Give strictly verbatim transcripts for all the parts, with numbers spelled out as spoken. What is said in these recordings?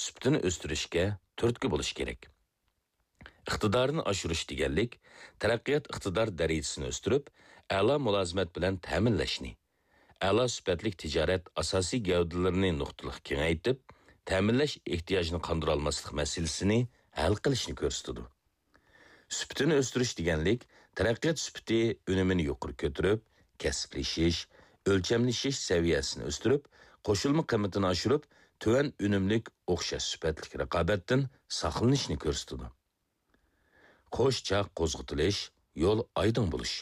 سۈپىتىنى ئۆستۈرۈشكە تۈرتكە بولۇش كېرەك. ئىقتىدارىنى ئاشۇرۇش دېگەنلىك، تەرەققىيات ئىقتىدار دەرىجىسىنى ئۆستۈرۈپ، ئەلا مۇلازىمەت بىلەن تەمىنلەشنى، ئەلا سۈپەتلىك تىجارەت ئاساسىي گەۋدىلىرىنى نۇقتىلىق كېڭەيتىپ، تەمىنلەش ئېھتىياجىنى قاندۇرالماسلىق مەسىلىسىنى ھەل قىلىشنى كۆرسىتىدۇ. سۈپىتىنى ئۆستۈرۈش دېگەنلىك، تەرەققىيات سۈپىتى ئۈنۈمىنى يۇقىرى كۆتۈرۈپ، كەسىپلىشىش، ئۆلچەملىشىش سەۋىيەسىنى ئۆستۈرۈپ، قوشۇلما قىممىتىنى ئاشۇرۇپ، تۆۋەن ئۈنۈملۈك، ئوخشاش سۈپەتلىك رىقابەتتىن ساقلىنىشنى كۆرسىتىدۇ. قوش چاق قوزغىتىلىش، يول ئايدىڭ بولۇش.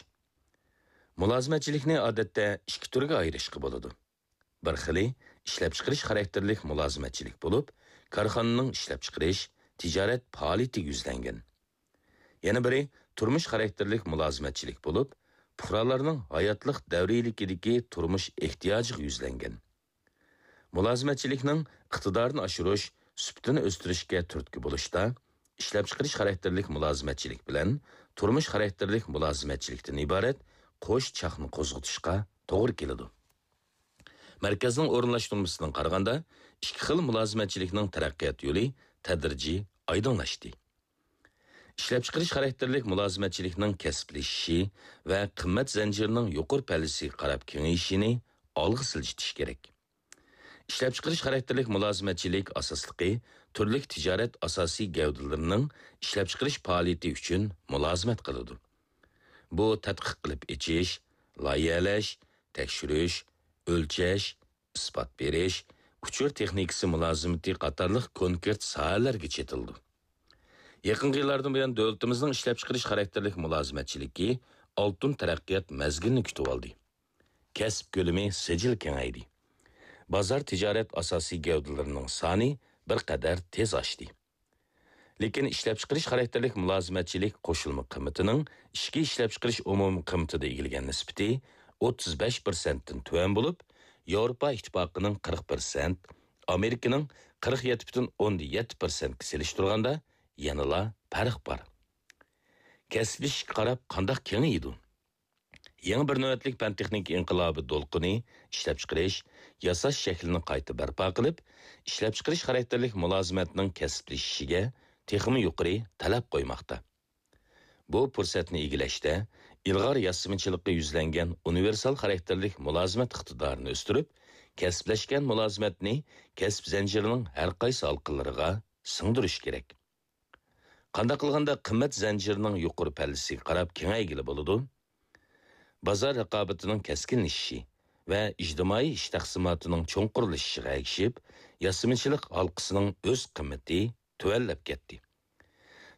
مۇلازىمەتچىلىكنى ئادەتتە ئىككى تۈرگە ئايرىشقا بولىدۇ. بىر خىلى ئىشلەپچىقىرىش خاراكتېرلىك مۇلازىمەتچىلىك بولۇپ، كارخانىنىڭ ئىشلەپچىقىرىش، تىجارەت پائالىيىتىگە يۈزلەنگەن. يەنە بىرى تۇرمۇش خاراكتېرلىك مۇلازىمەتچىلىك بولۇپ، پۇقرالارنىڭ ھاياتلىق دەۋرىيلىكىدىكى تۇرمۇش ئېھتىياجىغا يۈزلەنگەن. مۇلازىمەتچىلىكنىڭ ئىقتىدارىنى ئاشۇرۇش، سۈپىتىنى ئۆستۈرۈشكە تۈرتكە بولۇشتا، ئىشلەپچىقىرىش خاراكتېرلىك مۇلازىمەتچىلىك بىلەن تۇرمۇش خاراكتېرلىك مۇلازىمەتچىلىكتىن ئىبارەت قوش چاقنى قوزغىتىشقا توغرا كېلىدۇ. مەركەزنىڭ ئورۇنلاشتۇرمىسىدىن قارىغاندا، ئىككى خىل مۇلازىمەتچىلىكنىڭ تەرەققىيات يولى تەدرىجىي ئايدىڭلاشتى. ئىشلەپچىقىرىش خاراكتېرلىك مۇلازىمەتچىلىكنىڭ كەسىپلىشىشى ۋە قىممەت زەنجىرىنىڭ يۇقىرى پەللىسىگە قاراپ كېڭىيىشىنى ئالغا سىلجىتىش كېرەك. ئىشلەپچىقىرىش خاراكتېرلىك مۇلازىمەتچىلىك ئاساسلىقى تۈرلۈك تىجارەت ئاساسىي گەۋدىلىرىنىڭ ئىشلەپچىقىرىش پائالىيىتى ئۈچۈن مۇلازىمەت قىلىدۇ. بۇ تەتقىق قىلىپ ئېچىش، لايىھەلەش، تەكشۈرۈش، ئۆلچەش، ئىسپات بېرىش، ئۇچۇر تېخنىكىسى مۇلازىمىتى قاتارلىق كونكرېت ساھەلەرگە چېتىلىدۇ. يېقىنقى يىللاردىن بۇيان، دۆلىتىمىزنىڭ ئىشلەپچىقىرىش خاراكتېرلىك مۇلازىمەتچىلىكى ئالتۇن تەرەققىيات مەزگىلىنى كۈتۈۋالدى. كەسىپ كۆلىمى سىجىل كېڭەيدى. بازار تىجارەت ئاساسىي گەۋدىلىرىنىڭ سانى بىر قەدەر تېز ئاشتى. لېكىن ئىشلەپچىقىرىش خاراكتېرلىك مۇلازىمەتچىلىك قوشۇلما قىممىتىنىڭ ئىچكى ئىشلەپچىقىرىش ئومۇمىي قىممىتىدا ئىگىلىگەن نىسبىتى ئوتتۇز بەش پىرسەنتتىن تۆۋەن بولۇپ، ياۋروپا ئىتتىپاقىنىڭ قىرىق پىرسەنت، ئامېرىكىنىڭ قىرىق يەتتە پۈتۈن ئوندىن يەتتە پىرسەنتكە سېلىشتۇرغاندا يەنىلا پەرق بار. كەسىپلىشىشكە قاراپ قانداق كېڭىيىدۇ؟ يېڭى بىر نۆۋەتلىك پەن-تېخنىكا ئىنقىلابى دولقۇنى ئىشلەپچىقىرىش، ياساش شەكلىنى قايتا بەرپا قىلىپ، ئىشلەپچىقىرىش خاراكتېرلىك مۇلازىمەتنىڭ كەسىپلىشىشىگە تېخىمۇ يۇقىرى تەلەپ قويماقتا. بۇ پۇرسەتنى ئىگىلەشتە، ئىلغار ياسىمىچىلىققا يۈزلەنگەن ئۇنىۋېرسال خاراكتېرلىك مۇلازىمەت ئىقتىدارىنى ئۆستۈرۈپ، كەسىپلەشكەن مۇلازىمەتنى كەسىپ زەنجىرىنىڭ ھەر قايسى ھالقىلىرىغا سىڭدۈرۈش كېرەك. قانداق قىلغاندا قىممەت زەنجىرىنىڭ يۇقىرى پەللىسىگە قاراپ كېڭەيگىلى بولىدۇ؟ بازار رىقابىتىنىڭ كەسكىنلىشىشى ۋە ئىجتىمائىي ئىش تەقسىماتىنىڭ چوڭقۇرلىشىشىغا ئەگىشىپ، ياسىمىچىلىق ھالقىسىنىڭ ئۆز قىممىتى تۆۋەنلەپ كەتتى.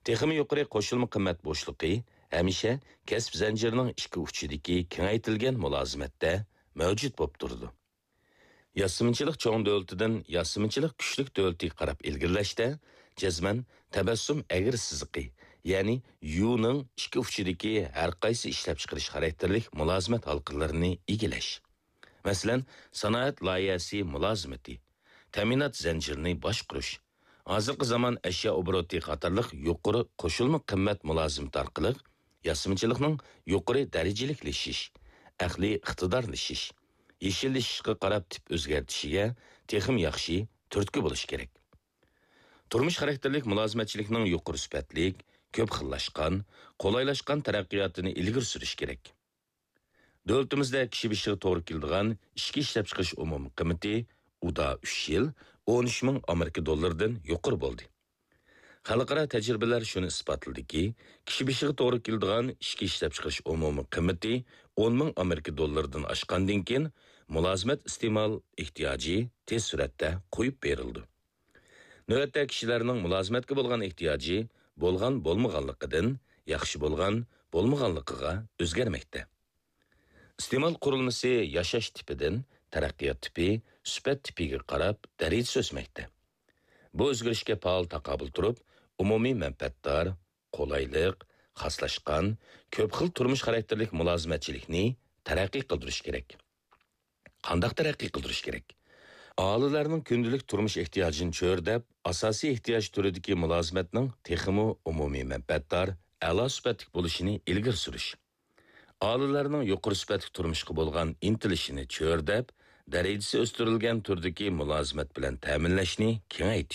تېخىمۇ يۇقىرى قوشۇلما قىممەت بوشلۇقى ھەمىشە كەسىپ زەنجىرىنىڭ ئىككى ئۇچىدىكى كېڭەيتىلگەن مۇلازىمەتتە مەۋجۇت بولۇپ تۇرىدۇ. ياسىمىچىلىق چوڭ دۆلىتىدىن ياسىمىچىلىق كۈچلۈك دۆلىتىگە قاراپ ئىلگىرىلەشتە، جەزمەن تەبەسسۇم ئەگرى سىزىقى، يەنى يۇنىڭ ئىككى ئۇچىدىكى ھەر قايسى ئىشلەپچىقىرىش خاراكتېرلىك مۇلازىمەت ھالقىلىرىنى ئىگىلەش. مەسىلەن، سانائەت لايىھەسى مۇلازىمىتى، تەمىنات زەنجىرىنى باشقۇرۇش، ھازىرقى زامان ئەشيا ئوبوروتى قاتارلىق يۇقىرى قوشۇلما قىممەت مۇلازىمىتى ئارقىلىق ياسىمىچىلىقنىڭ يۇقىرى دەرىجىلىكلىشىش، ئەقلىي ئىقتىدارلىشىش، يېشىللىشىشقا قاراپ تىپ ئۆزگەرتىشىگە تېخىمۇ ياخشى تۈرتكە بولۇش كېرەك. تۇرمۇش خاراكتېرلىك مۇلازىمەتچىلىكنىڭ يۇقىرى سۈپەتلىك، كۆپ خىللاشقان، قولايلاشقان تەرەققىياتىنى ئىلگىرى سۈرۈش كېرەك. دۆلىتىمىزدە كىشى بېشىغا توغرا كېلىدىغان ئىچكى ئىشلەپچىقىرىش ئومۇمىي قىممىتى ئۇدا ئۈچ يىل ئون ئۈچ مىڭ ئامېرىكا دوللىرىدىن يۇقىرى بولدى. خەلقئارا تەجرىبىلەر شۇنى ئىسپاتلىدىكى، كىشى بېشىغا توغرا كېلىدىغان ئىچكى ئىشلەپچىقىرىش ئومۇمىي قىممىتى ئون مىڭ ئامېرىكا دوللىرىدىن ئاشقاندىن كېيىن، مۇلازىمەت ئىستېمال ئېھتىياجى تېز سۈرئەتتە قويۇپ بېرىلىدۇ. نۆۋەتتە كىشىلەرنىڭ مۇلازىمەتكە بولغان ئېھتىياجى بولغان بولمىغانلىقىدىن، ياخشى بولغان بولمىغانلىقىغا ئۆزگەرمەكتە. ئىستېمال قۇرۇلمىسى ياشاش تىپىدىن تەرەققىيات تىپى، سۈپەت تىپىگە قاراپ دەرىجىسى ئۆسمەكتە. بۇ ئۆزگىرىشكە پائال تاقابىل تۇرۇپ، ئومۇمىي مەنپەئەتدار، قولايلىق، خاسلاشقان، كۆپ خىل تۇرمۇش خاراكتېرلىك مۇلازىمەتچىلىكنى تەرەققىي قىلدۇرۇش كېرەك. قانداق تەرەققىي قىلدۇرۇش كېرەك؟ ئاھالىلەرنىڭ كۈندىلىك تۇرمۇش ئېھتىياجىنى چۆرىدەپ، ئاساسىي ئېھتىياج تۈرىدىكى مۇلازىمەتنىڭ تېخىمۇ ئومۇمىي مەنپەئەتدار، ئەلا سۈپەتلىك بولۇشىنى ئىلگىرى سۈرۈش. ئاھالىلەرنىڭ يۇقىرى سۈپەتلىك تۇرمۇشقا بولغان ئىنتىلىشىنى چۆرىدەپ، دەرىجىسى ئۆستۈرۈلگەن تۈردىكى مۇلازىمەت بىلەن تەمىنلەشنى كېڭەيتىش.